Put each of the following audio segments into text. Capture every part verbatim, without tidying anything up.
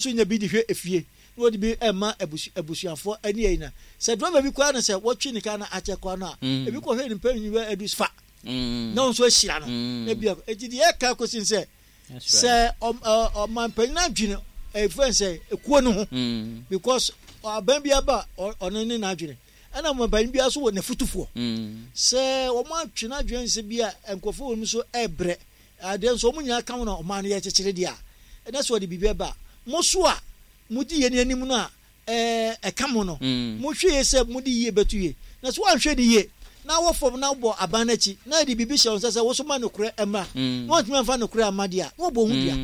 Nso nya bi de hwɛ efie na wɔde bi ɛma abusu abusuafoɔ ɛne ɛyi na sɛ driver bi koraa na sɛ wɔtwe ne kaa na akyɛ koraa no a, ebi kɔhwɛ ne mpanyin bɛ adu fa na wɔn nso ahyira no na bi akɔ. Eti deɛ ɛka kɔsi sɛ sɛ ɔmanpanyin adwene ɛfɛn sɛ ekuo no ho, because aban bi aba, ɔno ne n'adwene, ɛna ɔmanpanyin bi nso wɔ n'afutufoɔ sɛ wɔn atwe n'adwene sɛ bi a nkurɔfoɔ wɔn nso ɛɛbrɛ adeɛ nso wɔn nyinaa ka ho na ɔman no yɛ kyekyere deɛ a, ɛna sɛ wɔde biribi ɛba mo so a, modi yɛn anim no a, ɛɛ ɛka mo no, mohwɛ yie sɛ mode yie bɛto yie. Na sɛ woanhwɛ ne yie na wɔ fam na wobɔ aban no akyi na yɛde biribi hyɛ wo nsa sɛ wo so ma nokorɛ mmra na wantumi amfa nokorɛ amma deɛ a, na wɔbɔ ho dua.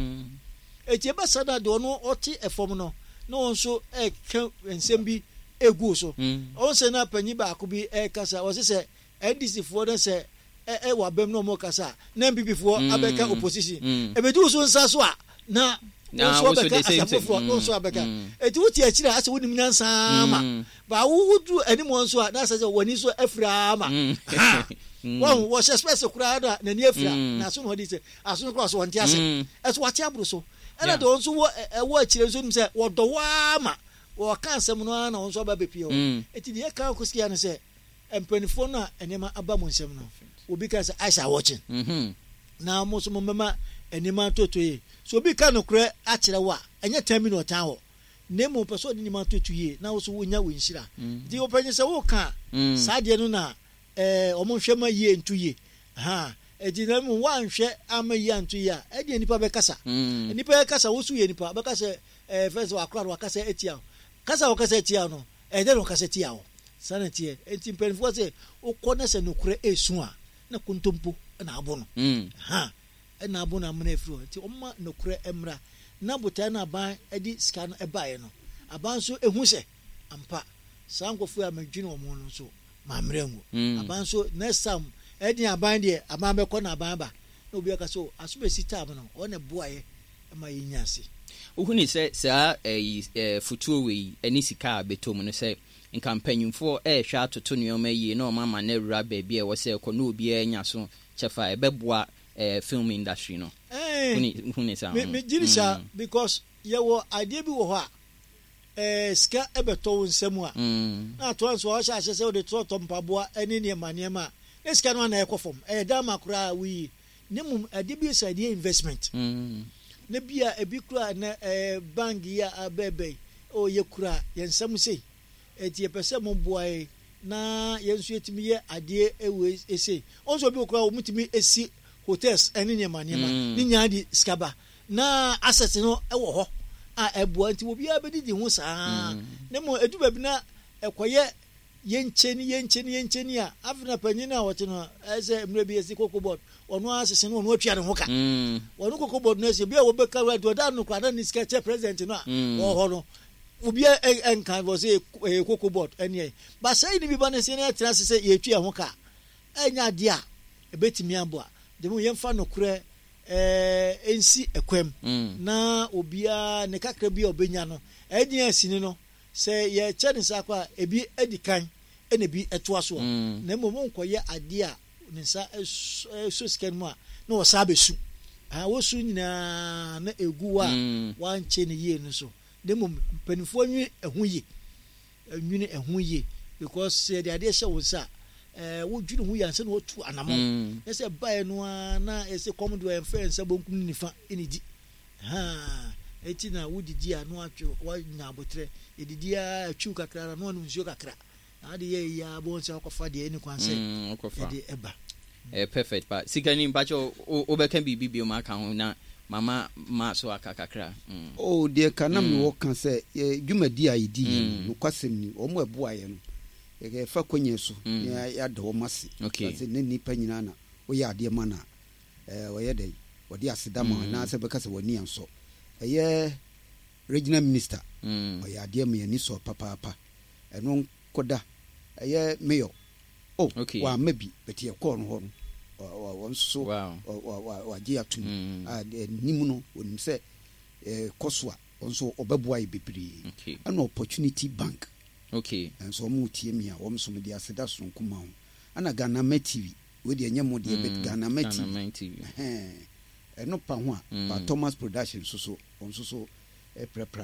Enti ɛbɛsa no a, deɛ ɔno ɔte fam no na wɔn nso ɛka nsɛm bi ɛgu wo so. Ɔhu sɛ na panyin baako bi ɛkasa, ɔse sɛ N D C foɔ no sɛ ɛwɔ abam na ɔmo kasa a, na N P P foɔ abɛka opposition. Ɛbɛdu wo so nsa so a, na wɔn nso abɛka asɛm foforɔ na wɔn nso abɛka. Eti wote akyire a, asɛ wonim nyansa ma ba wo woduru anim wɔn nso a, na asɛ sɛ wɔn ani nso afira ama ha wɔn wɔhyɛ specs koraa na n'ani afira na aso na wɔde sɛ aso no koraa so wɔn te ase ɛso wate aboro so. Ɛna deɛ wɔn nso wɔ ɛwɔ akyire nso nim sɛ wɔdɔ waa ma wɔka asɛm no ara na wɔn nso aba bepie hɔ. Eti deɛ ɛka kɔsi ya no sɛ mpanimfoɔ no a nneɛma aba mo nsam no, obi ka sɛ eyes are watching na mo nso mo mmɛma nneɛma ntoto yie. So obi ka nokorɛ akyerɛ wo a, ɛnyɛ tan bi na ɔtan hɔ, na mmom pɛ sɛ ɔde nneɛma ntoto yie na wo so wonya wo nhyira. Nti ɔpanyin sɛ woka saa deɛ no na ɛɛ wɔn nhwɛ ma yie nto yie ha. Eti na mmom woanhwɛ ama yie anto yie a, ɛdeɛ nipa bɛkasa, nipa bɛkasa. Wo so yɛ nipa bɛka sɛ ɛɛ fɛn sɛ wakora no wakasa etia wo, kasa a wɔkasa etia no, ɛyɛ dɛ na wɔkasa tia wo. Saa na teɛ. Eti mpanimfoɔ sɛ wokɔ na sɛ nokorɛ esu a, na kontompo na abo no ha, ɛna abo no amena efiri hɔ. Nti ɔma nokorɛ mmra na botae no aban de sika no ɛbaeɛ no, aban nso ehu sɛ ampa saa nkurɔfoɔ a medwene wɔn ho no nso maa mmerɛ ngu aban nso. Next time ɛdi aban deɛ, aban bɛkɔ na aban ba na obi aka so aso bɛsi time no, ɔno na ɛboaeɛ ma yɛnya ase. Wohuni sɛ saa ɛyi ɛɛ fotuo wei ne sika a bɛtɔ mu no, sɛ nka mpanyinfoɔ ɛrehwɛ atoto nneɛma yie na ɔma ama no awura baabi a ɛwɔ sɛ ɛkɔ na obiara nya so kyɛfa, ɛbɛboa ɛɛ film industry no? Ɛɛ huni saa? Me me gyiri saa, because yɛwɔ adeɛ bi wɔ hɔ a, ɛɛ sika ɛbɛtɔ wo nsam a, na atoa nso a ɔhyɛ ahyɛ sɛ wode tɔtɔ mpaboa ɛne nneɛma nneɛma a, ne sika no ana ɛkɔ fam, ɛyɛ dan ma koraa woyi ne mum adeɛ bi sɛ adeɛ investment ne bi a ebi kura na ɛɛ bank yi a abɛɛbɛn o, yɛ kura yɛn nsam sei, eti yɛpɛ sɛ mo boa yɛ na yɛn nso yɛtumi yɛ adeɛ ɛwɔ ese wɔn nso obi wɔ kura wɔn tumi esi hotels ɛne nneɛma nneɛma ne nyinaa de sika ba na asset no ɛwɔ hɔ a ɛboa. Nti obiara bɛdidi ho saa ne mo edu baabi na ɛkɔyɛ yɛnkyɛni yɛnkyɛni yɛnkyɛni a, afei na panyin a wɔte no ɛsɛ mmerɛ bi yɛsi Cocoa Board, ɔno asese no, ɔno atua ne ho ka. Ɔno Cocoa Board no ɛsɛ obi a wɔbɛka wura deɛ ɔda no koraa na ne sika kyɛ president no a wɔwɔ hɔ no, obi ɛnka wɔ sɛ ɛyɛ Cocoa Board ɛne ɛyɛ baasa yi ne bi ba ne sɛ ne ɛtena ase sɛ yɛtua ho ka. Ɛnyɛ adeɛ a ɛbɛtumi aboa de mu. Yɛmfa nokorɛ ɛɛ nsi ɛkwam na obiara ne kakra bi a ɔbɛnya no ɛdeɛ asini no sɛ yɛkyɛ ne nsa akɔ a, ebi adi kan ɛna ebi ɛtoa soɔ. Na mmom nkɔyɛ adeɛ a ne nsa ɛsɔ sika no mu a, na wɔsa abɛsu wosu nyinaa na egu hɔ a wankyɛ ne yie no so. Na mmom mpanimfoɔ nwi ɛho yie, nwini ɛho yie, because sɛ yɛde adeɛ hyɛ wo nsa a, ɛɛ wodwene ho yie ansa na watu anamɔ na sɛ baeɛ no ara na ɛsɛ kɔm deɛ, ɛmfa yɛn nsa bonkum ne nifa ɛna di haa. Eti na wodidi a, na watwe wanya abotire yɛdidi a, atwiw kakra na wanom nsuo kakra na ade yɛ yie a, bɔn sɛ wakɔfa deɛ ɛni kwan sɛ yɛde ɛba. Ɛyɛ perfect pa. Sikani, mpakyɛ wobɛka biribi bio ma aka ho na mama ma so aka kakra. mm. Oh, deɛ ka na mewɔ ka sɛ yɛ dwumadi a yɛdi yɛ no, nokwasɛm ni, wɔn a ɛboa yɛ no, yɛfa kɔnyɛ so na yɛada wɔn ase sɛ ne nnipa nyinaa na woyɛ adeɛ ma no a, ɔyɛ dɛn wɔde aseda ma anaasɛ bɛka sɛ w'ani ansɔ. Ɛyɛ regional minister, ɔyɛ adeɛ ma yɛni sɔ papaapa. Ɛno nkɔda ɛyɛ mayor oh okay. Wamma bi bɛte yɛkɔɔ no hɔ no, wɔn nso wagye atum a anim no, wɔnim sɛ kɔ so a, wɔn nso ɔbɛboa yɛ bebree. Ɛna Opportunity Bank okay. nso wɔn tie mi a, wɔn nso de aseda sononko ma wɔn. Ɛna Ghana Ma T V, wei deɛ ɛnyɛ mo deɛ, but Ghana Ma T V ɛno pa ho a, pa Thomas Production nso so, wɔn nso so ɛprapra ne